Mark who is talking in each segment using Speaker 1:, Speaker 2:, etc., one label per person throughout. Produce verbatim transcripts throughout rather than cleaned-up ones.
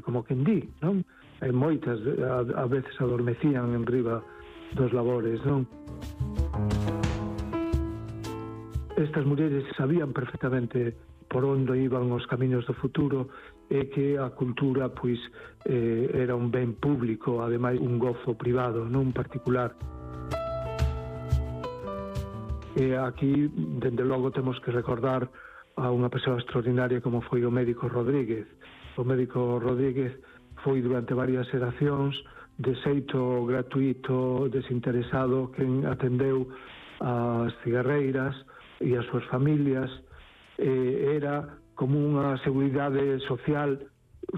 Speaker 1: como quen di, non? E moitas a, a veces adormecían en riba dos labores, non? Estas mulleres sabían perfectamente por onde iban os camiños do futuro e que a cultura, pois, eh, era un ben público, ademais un gozo privado, non particular. E aquí, dende logo, temos que recordar a unha persoa extraordinaria como foi o médico Rodríguez. O médico Rodríguez foi durante varias xeracións de xeito gratuito, desinteresado, quen atendeu as cigarreiras e as súas familias. Eh, era como unha seguridade social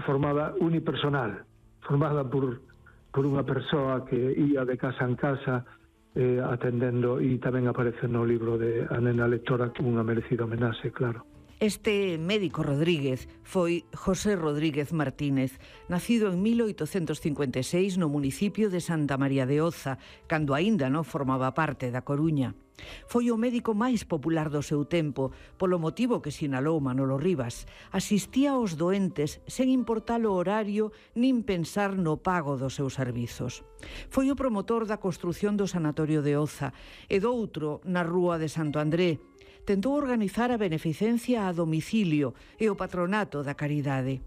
Speaker 1: formada unipersonal, formada por, por unha persoa que ia de casa en casa eh, atendendo, e tamén aparece no libro de A nena lectora unha merecida homenaxe, claro.
Speaker 2: Este médico Rodríguez foi José Rodríguez Martínez, nacido en mil oitocentos cincuenta e seis no municipio de Santa María de Oza, cando aínda non formaba parte da Coruña. Foi o médico máis popular do seu tempo, polo motivo que sinalou Manolo Rivas. Asistía aos doentes sen importar o horario nin pensar no pago dos seus servizos. Foi o promotor da construción do Sanatorio de Oza e doutro na Rúa de Santo André. Tentou organizar a beneficencia a domicilio e o patronato da caridade.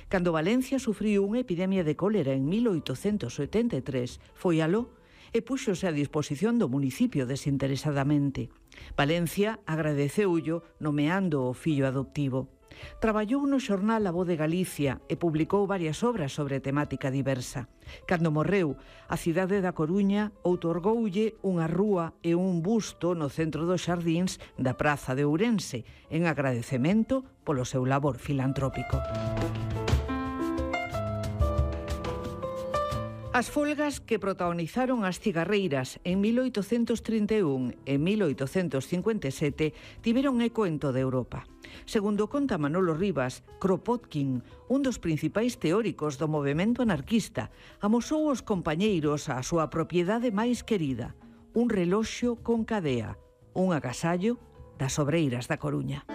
Speaker 2: Cando Valencia sufriu unha epidemia de cólera en mil oitocentos setenta e tres, foi aló e púxose a disposición do municipio desinteresadamente. Valencia agradeceullo nomeando o fillo adoptivo. Traballou no xornal A Voz de Galicia e publicou varias obras sobre temática diversa. Cando morreu, a cidade da Coruña outorgoulle unha rúa e un busto no centro dos xardíns da Praza de Ourense, en agradecemento polo seu labor filantrópico. As folgas que protagonizaron as cigarreiras en mil oitocentos trinta e un e mil oitocentos cincuenta e sete tiveron eco en toda Europa. Segundo conta Manolo Rivas, Kropotkin, un dos principais teóricos do movemento anarquista, amosou aos compañeiros a súa propiedade máis querida, un reloxo con cadea, un agasallo das obreiras da Coruña.